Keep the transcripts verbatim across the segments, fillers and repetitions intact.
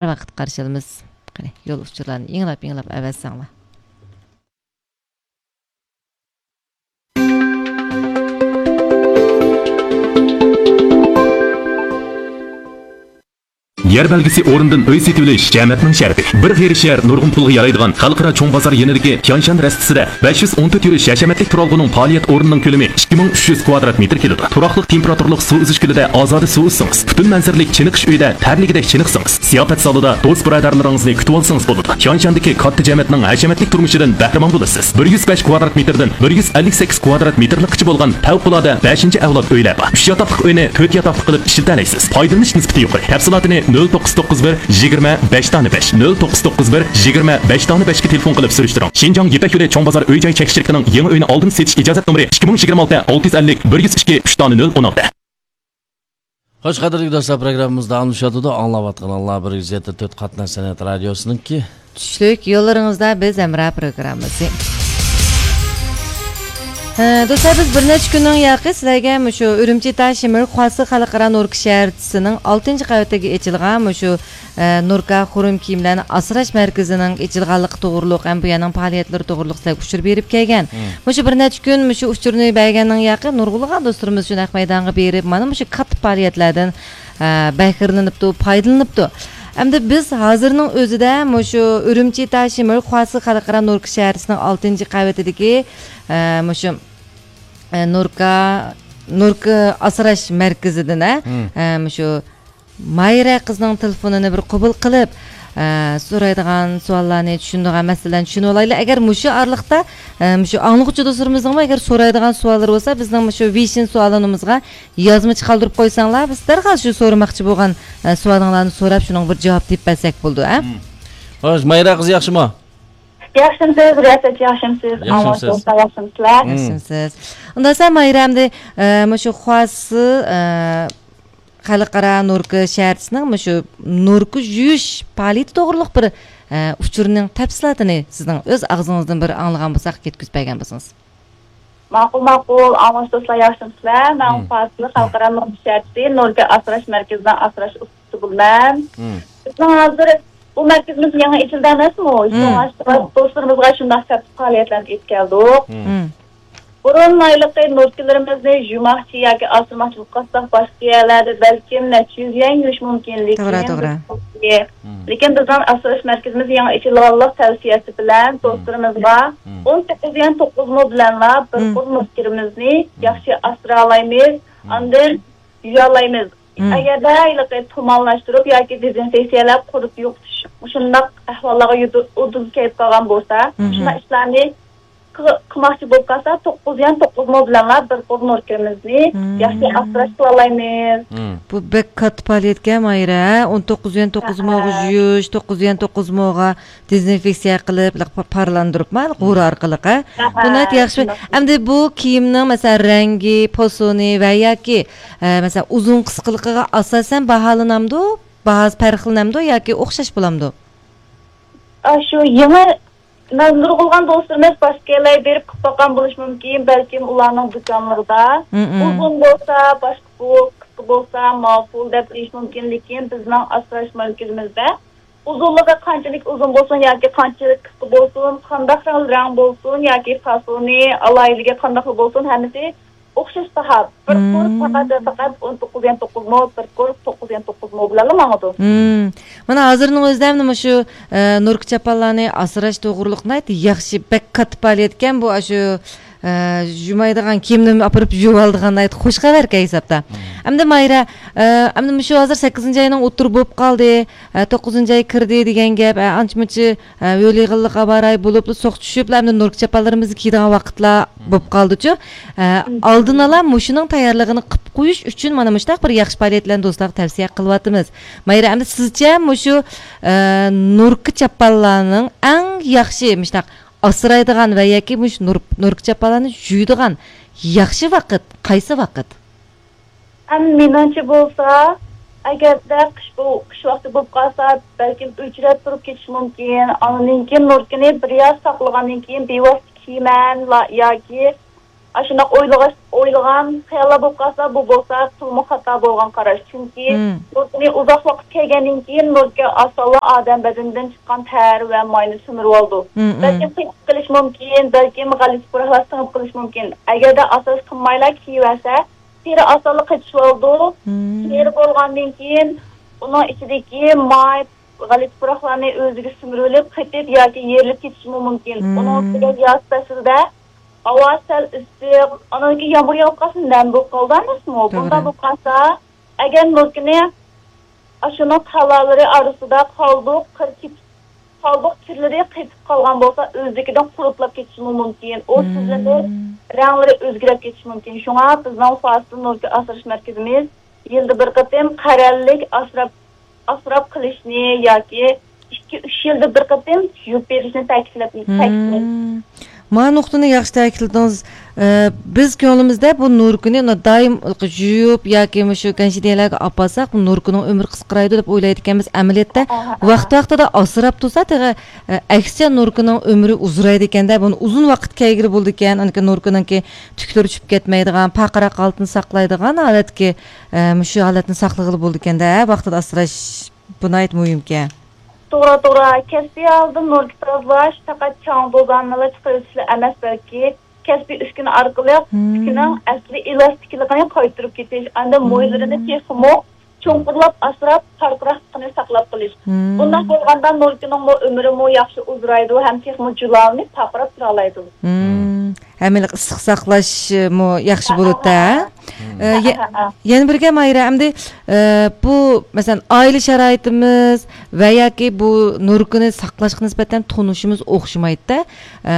ۋاقىت قارشى ئالىمىز. قېنى، يول ئۇچۇرلارنى ئىڭلاپ-ئىڭلاپ ئەۋەتسەڭلار. يەر بەلگىسى ئورنىدىن ئۆي سېتىۋېلىش جەمەتنىڭ شەرىپى. بىر غېرىب شەھەر نۇرغۇن پۇلغا يارايدىغان خەلقئارا چوڭ بازار يېنىدىكى تيانشان رەستىسىدە بەش يۈز ئون تۆت يۈرۈش ھەشەمەتلىك تۇرالغۇنىڭ پائالىيەت ئورنىنىڭ كۆلىمى ئىككى مىڭ ئۈچ يۈز كۋادرات مېتىر كېلىدۇ. تۇراقلىق تېمپېراتۇرىلىق سۇ ئۈزۈش كۆلىدە ئازادە سۇ ئۈزسىڭىز، پۈتۈن مەنزىرىلىك چېنىقىش ئۆيىدە تەرلىگۈدەك چېنىقسىڭىز، زىياپەت زالىدا دوست-بۇرادەرلىرىڭىزنى كۈتۈۋالسىڭىز بولىدۇ. تيانشاندىكى كاتتا جەمەتنىڭ ھەشەمەتلىك تۇرمۇشىدىن بەھرىمەن بولىسىز. بىر يۈز بەش كۋادرات مېتىردىن بىر يۈز ئەللىك سەككىز كۋادرات مېتىرلىققىچە بولغان پەۋقۇلئاددە بەشىنچى ئەۋلاد ئۆيلەر بار. ئۈچ ياتاقلىق ئۆينى تۆت ياتاقلىق قىلىپ ئىشلىتەلەيسىز. پايدىلىنىش نىسبىتى يۇقىرى. تەپسىلاتىنى نۆل توققۇز توققۇز بىر يىگىرمە بەش دانە بەش، نۆل توققۇز توققۇز بىر يىگىرمە بەش دانە بەشكە تېلېفون قىلىپ سۈرۈشتۈرۈڭ. شىنجاڭ يىپەك يولى چوڭ بازار ئۆي-جاي چەك شىركىتىنىڭ يېڭى ئۆينى ئالدىن سېتىش ئىجازەت نومۇرى ئىككى مىڭ يىگىرمە ئالتە، ئالتە يۈز ئەللىك، بىر يۈز ئىككى، ئۈچ دانە نۆل ئون ئالتە. خوش، قەدىرلىك دوستلار، پروگراممىمىز داۋاملىشىۋاتىدۇ. ئاڭلاۋاتقىنىڭلار بىر يۈز يەتتە تۆت قاتناش سەنئەت رادىيوسىنىڭكى چۈشلۈك يوللىرىڭىزدا بىز ھەمراھ پروگراممىسى. ھە، دوستلار، بىز بىر نەچچە كۈننىڭ ياقى سىلەرگە مۇشۇ ئۈرۈمچى تاشىمىر خۇاسى خەلقئارا نوركا شەھەرچىسىنىڭ ئالتىنچى قەۋىتىگە ئېچىلغان مۇشۇ، ئە، نوركا خۇرۇم كىيىملەرنى ئاسراش مەركىزىنىڭ ئېچىلغانلىقى توغرۇلۇق ھەم بۇ يەرنىڭ پائالىيەتلىرى توغرۇلۇق سىلەرگە ئۇچۇر بېرىپ كەلگەن. مۇشۇ بىر نەچچە كۈن مۇشۇ ئۇچۇرنى بەرگەننىڭ ياقى نۇرغۇنلىغان دوستلىرىمىز شۇ نەق مەيدانغا بېرىپ، مانا مۇشۇ كاتتا پائالىيەتلەردىن، ئە، بەھرىلىنىپتۇ، پايدىلىنىپتۇ. ئەمدى بىز ھازىرنىڭ ئۆزىدە مۇشۇ ئۈرۈمچى تاشىمىر خۇاسى خەلقئارا نوركا شەھەرچىسىنىڭ ئالتىنچى قەۋىتىدىكى، ئە، مۇشۇ، ئە، نوركا، نوركا ئاسراش مەركىزىدىن، ئە، ئە، مۇشۇ مايرا قىزنىڭ تېلېفونىنى بىر قوبۇل قىلىپ، ئە، سورايدىغان سوئاللارنى، چۈشىنىدىغان مەسىلىلەرنى چۈشىنىۋالايلى. ئەگەر مۇشۇ ئارىلىقتا، ئە، مۇشۇ ئاڭلىغۇچى دوستلىرىمىزنىڭمۇ ئەگەر سورايدىغان سوئاللىرى بولسا، بىزنىڭ مۇشۇ ۋېيشىن سوئالنامىمىزغا يازمىچە قالدۇرۇپ قويساڭلار، بىز دەرھال شۇ سورىماقچى بولغان، ئە، سوئالىڭلارنى سوراپ، شۇنىڭغا بىر جاۋاب تېپىپ بەرسەك بولىدۇ، ئە؟ خوش، مايرا قىز ياخشىمۇ؟ ياخشىمسىز، رىياسەتچى، ياخشىمسىز؟ ياخشىمسىز. ئاڭلىغۇچى دوستلار، ياخشىمسىلەر؟ ياخشىمسىز. ئۇنداق بولسا مايرا ئەمدى، ئە، مۇشۇ خۇاسى، ئە، خەلقئارا نوركا شەھەرچىسىنىڭ مۇشۇ نوركا يۇيۇش پائالىيىتى توغرۇلۇق بىر، ئە، ئۇچۇرنىڭ تەپسىلاتىنى سىزنىڭ ئۆز ئاغزىڭىزدىن بىر ئاڭلىغان بولساق، يەتكۈزۈپ بەرگەن بولسىڭىز. ماقۇل، ماقۇل. ئاڭلىغۇچى دوستلار، ياخشىمسىلەر؟ مەن خۇاسى خەلقئارا نوركا شەھەرچىسى نوركا ئاسراش مەركىزىنىڭ ئاسراش ئۇستىسى بولىمەن. بىزنىڭ ھازىر بۇ مەركىزىمىز يېڭى ئېچىلدى ئەمەسمۇ؟ شۇڭا دوستلىرىمىزغا شۇنداق كاتتا پائالىيەتلەرنى ئېلىپ كەلدۇق. بۇرۇن ھېلىقى نوركىلىرىمىزنى يۇماقچى ياكى ئاسرىماقچىلىققا قىلساق، باشقا يەرلەردە بەلكىم نەچچە يۈز يۈەن يۇيۇش مۇمكىن، لېكىن توغرا، توغرا. لېكىن بىزنىڭ ئاسراش مەركىزىمىز يېڭى ئېچىلغانلىق تەۋسىيەسى بىلەن دوستلىرىمىزغا ئون توققۇز يۈەن توققۇز مو بىلەنلا بىر قۇر نوركىمىزنى ياخشى ئاسرالايمىز، ئاندىن يۇيالايمىز. ئەگەردە ھېلىقى تۇمانلاشتۇرۇپ ياكى دېزىنفېكسىيەلەپ قۇرۇپ يوقىتىش، مۇشۇنداق ئەھۋاللارغا يۇدۇ-، ئۇدۇل كېلىپ قالغان بولسا، مۇشۇنداق ئىشلارنى قىل-، قىلماقچى بولۇپ قالسا، توققۇز يۈەن توققۇز مو بىلەنلا بىر قۇر نوركىمىزنى ياخشى ئاسراش قىلالايمىز. بۇ بەك كاتتا پائالىيەتكەن، ماھىرە، ھە؟ ئون توققۇز يۈەن توققۇز موغا يۇيۇش، توققۇز يۈەن توققۇز موغا دېزىنفېكسىيە قىلىپ، لىق-، پا-، پارلاندۇرۇپما، غورا ئارقىلىق، ھە؟ بۇ ناھايىتى ياخشى. ئەمدى بۇ كىيىمنىڭ، مەسىلەن، رەڭگى، پوسۇنى ۋە ياكى، ئە، مەسىلەن، ئۇزۇن قىسقىلىقىغا ئاساسەن باھالىنامدۇ؟ باھاسى پەرقلىنەمدۇ ياكى ئوخشاش بولامدۇ؟ ئاشۇ يېڭى نۇرغۇنلىغان دوستلىرىمىز باشقا يەرلەرگە بېرىپ قىلىپ باققان بولۇشى مۇمكىن، بەلكىم ئۇلارنىڭ دۇكانلىرىدا. ئۇزۇن بولسا باشقا پۇل، قىسقا بولسا ماۋۇ پۇل دەپ دېيىشى مۇمكىن، لېكىن بىزنىڭ ئاسراش مەركىزىمىزدە ئۇزۇنلۇقى قانچىلىك ئۇزۇن بولسۇن ياكى قانچىلىك قىسقا بولسۇن، قانداق رەڭ، رەڭ بولسۇن ياكى فاسونى، ئالاھىدىلىكى قانداقلا بولسۇن، ھەممىسى ئوخشاش باھا. بىر قۇر پەقەت ۋە پەقەت ئون توققۇز يۈەن توققۇز مو، بىر قۇر توققۇز يۈەن توققۇز مو بىلەنلا ماڭىدۇ. مانا ھازىرنىڭ ئۆزىدە مۇشۇ، ئە، نوركا چاپانلارنى ئاسراش توغرۇلۇق ناھايىتى ياخشى، بەك كاتتا پائالىيەتكەن بۇ، ئاشۇ، ئە، يۇمايدىغان كىيىمنى ئاپىرىپ يۇۋالىدىغان ناھايىتى خۇش خەۋەركەن ھېسابتا. ئەمدى ماھىرە، ئە، ئەمدى مۇشۇ ھازىر سەككىزىنچى ئاينىڭ ئوتتۇرا بولۇپ قالدى، ئە، توققۇزىنچى ئاي كىردى دېگەن گەپ، ئە، ئانچە-مۇنچە، ئە، ھۆل-يېغىنلىق ھاۋا رايى بولۇپلا سوغۇق چۈشۈپلا ئەمدى نوركا چاپانلىرىمىزنى كىيىدىغان ۋاقىتلار بولۇپ قالدىچۇ. ئە، ئالدىنئالا مۇشۇنىڭ تەييارلىقىنى قىلىپ قويۇش ئۈچۈن مانا مۇشۇنداق بىر ياخشى پائالىيەتلەرنى دوستلارغا تەۋسىيە قىلىۋاتىمىز. ماھىرە، ئەمدى سىزچە مۇشۇ، ئە، نوركا چاپانلارنىڭ ئەڭ ياخشى مۇشۇنداق ئاسرايدىغان ۋە ياكى مۇشۇ نور-، نوركا چاپانلارنى يۇيىدىغان ياخشى ۋاقىت قايسى ۋاقىت؟ ئەمما مېنىڭچە بولسا، ئەگەردە قىش بو-، قىش ۋاقتى بولۇپ قالسا، بەلكىم ئۆچرەپ تۇرۇپ كېتىشى مۇمكىن. ئاندىن كېيىن نوركىنى بىر ياز ساقلىغاندىن كېيىن بىۋاسىتە كىيىمەن لا-، ياكى ئاشۇنداق ئويلىغاچ-، ئويلىغان خىياللار بولۇپ قالسا، بۇ بولسا تولىمۇ خاتا بولغان قاراش. چۈنكى نۇركىنى ئۇزاق ۋاقىت كىيگەندىن كېيىن نۇركە ئاسانلا ئادەم بەدىنىدىن چىققان تەر ۋە ماينى سۈمۈرۈۋالىدۇ. بەلكىم قېتىپ قېلىشى مۇمكىن، بەلكىم غەلىتە پۇراقلار سىڭىپ قېلىشى مۇمكىن. ئەگەردە ئاساس قىلمايلا كىيىۋەرسە، تېرە ئاسانلا قېتىشىۋالىدۇ. تېرە بولغاندىن كېيىن ئۇنىڭ ئىچىدىكى ماي، غەلىتە پۇراقلارنى ئۆزىگە سۈمۈرۈۋېلىپ، قېتىپ ياكى يېرىلىپ كېتىشىمۇ مۇمكىن. ئۇنىڭ ئۈستىگە ياز پەسلىدە ھاۋا سەل ئىسسىق، ئاندىن كېيىن يامغۇر ياغىپ قالسا، نەم بولۇپ قالىدۇ ئەمەسمۇ؟ بۇنداق بولۇپ قالسا، ئەگەر نۇركىنى ئاشۇنىڭ تالالىرى ئارىسىدا قالدۇق، قىر كېتىپ، قالدۇق كىرلىرى قېتىپ قالغان بولسا، ئۆزلۈكىدىن قۇرۇتلاپ كېتىشىمۇ مۇمكىن. ئۇ سىزلىنىپ، رەڭلىرى ئۆزگىرىپ كېتىشى مۇمكىن. شۇڭا بىزنىڭ فاستىل نۇركە ئاسراش مەركىزىمىز يىلدا بىر قېتىم قەرەللىك ئاسراپ، ئاسراپ قېلىشنى ياكى ئىككى، ئۈچ يىلدا بىر قېتىم يۇيۇپ بېرىشنى تەكىتلەپ، تەكىتلەيمىز. ما نۇقتىنى ياخشى تەكىتلىدىڭىز. ئە، بىز كۆڭلىمىزدە بۇ نۇركىنى دائىم يۇيۇپ ياكى مۇشۇ گەنشىدىيەلەرگە ئاپارساق، بۇ نۇركىنىڭ ئۆمرى قىسقىرايدۇ دەپ ئويلايدىكەنمىز. ئەمەلىيەتتە ۋاقتى ۋاقتىدا ئاسراپ تۇرسا، تېخى، ئە، ئەكسىچە نۇركىنىڭ ئۆمرى ئۇزىرايدىكەندە، بۇنى ئۇزۇن ۋاقىت كىيگىلى بولىدىكەن. ئاندىن كېيىن نۇركىنىڭكى تۈكلىرى چۈشۈپ كەتمەيدىغان، پارقىراق ھالىتىنى ساقلايدىغان ھالەتكە، ئە، مۇشۇ ھالەتنى ساقلىغىلى بولىدىكەندە، ۋاقتىدا ئاسراش بۇ ناھايىتى مۇھىمكەن. توغرا، توغرا. كەسپىي ھالدا نۇركە تازىلاش پەقەت چاڭ توزاننىلا چىقىرىۋېتىشلا ئەمەس، بەلكى كەسپىي ئۈسكۈنە ئارقىلىق تۈكىنىڭ ئەسلى ئېلاستىكلىقىنى قايتۇرۇپ كېتىش، ئاندىن مويلىرىنى تېخىمۇ چوڭقۇرلاپ ئاسراپ، پارقىراقلىقىنى ساقلاپ قېلىش. بۇنداق بولغاندا نۇركىنىڭمۇ ئۆمرىمۇ ياخشى ئۇزىرايدۇ ھەم تېخىمۇ جۇلالىنىپ پارقىراپ تۇرالايدۇ. ھەممىلىك ئىسسىق ساقلاشمۇ ياخشى بولىدۇ. ئە، يە-، يەنە بىر گەپ، ماھىرە، ئەمدى، ئە، بۇ، مەسىلەن، ئائىلە شارائىتىمىز ۋە ياكى بۇ نۇركىنى ساقلاشقا نىسبەتەن تونۇشىمىز ئوخشىمايدۇ-دە. ئە،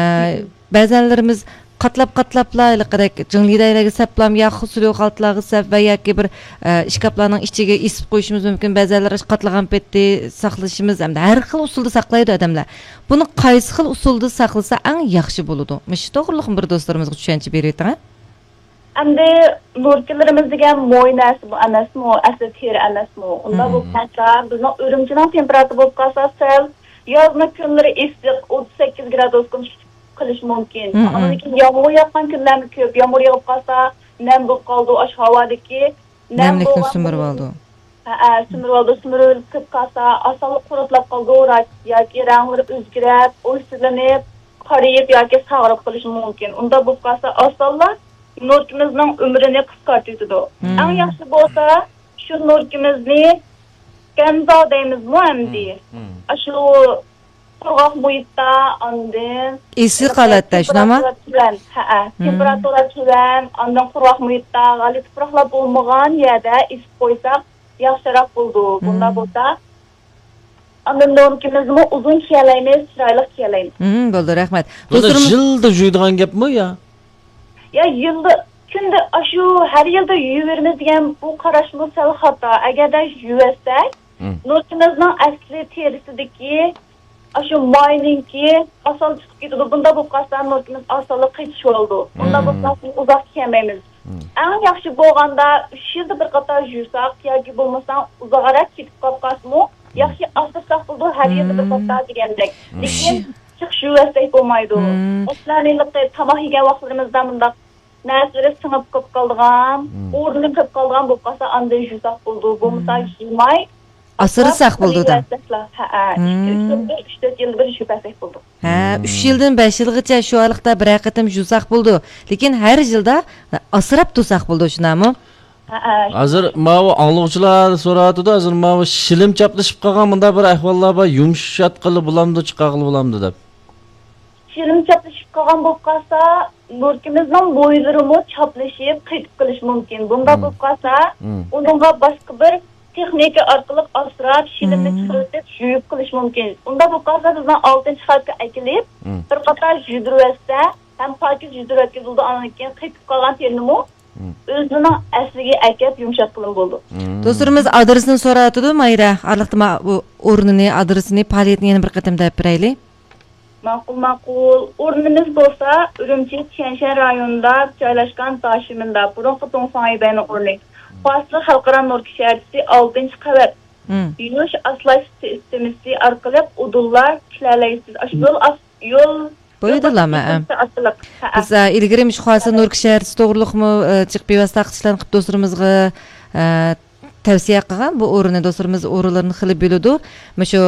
بەزەنلىرىمىز قاتلاپ قاتلاپلا ھېلىقىدەك جىڭلىدەيلەرگە سەپلام يا خۇسۇلۇ خالتىلارغا سەپ ۋە ياكى بىر، ئە، ئىشكاپلارنىڭ ئىچىگە ئېسىپ قويۇشىمىز مۇمكىن. بەزەنلەر قاتلىغان پېتى ساقلىشىمىز ھەمدە ھەر خىل ئۇسۇلدا ساقلايدۇ ئادەملەر. بۇنى قايسى خىل ئۇسۇلدا ساقلىسا ئەڭ ياخشى بولىدۇ؟ مۇشۇ توغرىلىق بىر دوستلىرىمىزغا چۈشەنچە بېرىۋېتىڭە. ئەمدى نۇركىلىرىمىز دېگەن موي نەرسە بۇ ئەمەسمۇ؟ ئەسلى تېرە ئەمەسمۇ؟ ئۇنداق بولۇپ قالسا، بىزنىڭ ئۈرۈمچىنىڭ تېمپېراتۇرا بولۇپ قالسا، سەل يازنىڭ كۈنلىرى ئىسسىق، ئوتتۇز سەككىز گرادۇسقىمۇ چىقىپ قېلىشى مۇمكىن. ئاندىن كېيىن يامغۇر ياغقان كۈنلەرمۇ كۆپ. يامغۇر يېغىپ قالسا، نەم بولۇپ قالىدۇ ئاشۇ ھاۋادىكى. نەملىكنى سۈمۈرۈۋالىدۇ. ھەئە، سۈمۈرۈۋالىدۇ. سۈمۈرۈۋېلىپ كېتىپ قالسا، ئاسانلا قۇرۇتلاپ قالىدۇ، ياكى رەڭلىرى ئۆزگىرىپ، ئويسىزلىنىپ، قارىيىپ ياكى ساغىرىپ قېلىشى مۇمكىن. ئۇنداق بولۇپ قالسا، ئاسانلا نۇركىمىزنىڭ ئۆمرىنى قىسقارتىۋېتىدۇ. ئەڭ ياخشى بولسا، شۇ نۇركىمىزنى گەنزا دەيمىزمۇ ئەمدى؟ ئاشۇ قۇرغاق مۇھىتتا، ئاندىن ئىسسىق ھالەتتە، شۇنداقمۇ؟ تېمپېراتۇرا تۆۋەن، ھەئە، تېمپېراتۇرا تۆۋەن، ئاندىن قۇرغاق مۇھىتتا، غەلىتە پۇراقلار بولمىغان يەردە ئىسسىپ قويساق ياخشىراق بولىدۇ. بۇنداق بولسا، ئاندىن نۇركىمىزمۇ ئۇزۇن كىيەلەيمىز، چىرايلىق كىيەلەيمىز. بولدى، رەھمەت. بۇنى دوستلىرىمىز يىلدا يۇيىدىغان گەپمۇ يا؟ يا يىلدا، كۈندە ئاشۇ ھەر يىلدا يۇيۇۋېرىمىز دېگەن بۇ قاراشمۇ سەل خاتا. ئەگەردە يۇيۇۋەتسەك، نۇركىمىزنىڭ ئەسلى تېرىسىدىكى ئاشۇ ماينىڭكى ئاسان چىقىپ كېتىدۇ. بۇنداق بولۇپ قالسا نۇركىمىز ئاسانلا قېتىشىۋالىدۇ. بۇنداق بولسا ئۇزاق كىيەلمەيمىز. ئەڭ ياخشى بولغاندا ئۈچ يىلدا بىر قېتىم يۇساق ياكى بولمىسا ئۇزاقراق كېتىپ قالىپ قالسىمۇ ياخشى ئاسرىساق بولىدۇ، ھەر يىلدا بىر قېتىم دېگەندەك. لېكىن جىق يۇيۇۋەتسەك بولمايدۇ. مەسىلەن، ھېلىقى تاماق يېگەن ۋاقىتلىرىمىزدا مۇنداق نەرسىلىرى سىڭىپ قېلىپ قالىدىغان، ئورنى قېلىپ قالىدىغان بولۇپ قالسا، ئاندىن يۇساق بولىدۇ. بولمىسا يۇماي ئاسرىساق بولىدۇ. ھەئە، ئىككى، ئۈچ يىلدا بىر، ئۈچ، تۆت يىلدا بىر يۇيۇپ بەرسەك بولىدۇ. ھە، ئۈچ يىلدىن بەش يىلغىچە شۇ ئارىلىقتا بىرەر قېتىم يۇساق بولىدۇ. لېكىن ھەر يىلدا ئاسراپ تۇرساق بولىدۇ، شۇنداقمۇ؟ ھەئە. ھازىر ماۋۇ ئاڭلىغۇچىلار سوراۋاتىدۇ، ھازىر ماۋۇ شىلىم چاپلىشىپ قالغان مۇنداق بىر ئەھۋاللار بار، يۇمشاتقىلى بولامدۇ، چىقارغىلى بولامدۇ دەپ. شىلىم چاپلىشىپ قالغان بولۇپ قالسا، نۇركىمىزنىڭ مويلىرىمۇ چاپلىشىپ قېتىپ قېلىشى مۇمكىن. بۇنداق بولۇپ قالسا، ئۇنىڭغا باشقا بىر تېخنىكا ئارقىلىق ئاسراپ، شىلىمنى چىقىرىۋېتىپ، يۇيۇپ قېلىش مۇمكىن. ئۇنداق بولۇپ قالسا، بىزنىڭ ئالتىنچى قاتقا ئەكېلىپ، بىر قاتار يۇيدۇرۇۋەتسە ھەم پاكىز يۇيدۇرۇۋەتكىلى بولىدۇ، ئاندىن كېيىن قېتىپ قالغان تېرىنىمۇ ئۆزىنىڭ ئەسلىگە ئەكەپ يۇمشاتقىلىمۇ بولىدۇ. دوستلىرىمىز ئادرېسىنى سوراۋاتىدۇ، ماھىرە. ئارىلىقتا ما-، بۇ ئورنىنى، ئادرېسىنى، پائالىيىتىنى يەنە بىر قېتىم دەپ بېرەيلى. ماقۇل، ماقۇل. ئورنىمىز بولسا ئۈرۈمچى تيەنشەن رايونىدا جايلاشقان داشىمىندا، بۇرۇنقى دۇڭفاڭيىبەينىڭ ئورنى. فاستىل خەلقئارا نۇركە شەھەرچىسى، ئالتىنچى قەۋەت. يۇيۇش ئاسراش سىستېمىسى ئارقىلىق ئۇدۇللار كىيەلەيسىز. ئاشۇ يول ئاس-، يول بولىدۇ، مەن. بىز ئىلگىرى مۇشۇ خاسىن نۇركى شەھەرچىسى توغرىلىقمۇ جىق بىۋاسىتە تارقىتىشلارنى قىلىپ دوستلىرىمىزغا تەۋسىيە قىلغان بۇ ئورۇننى. دوستلىرىمىز ئورۇنلىرىنى خېلى بىلىدۇ. مۇشۇ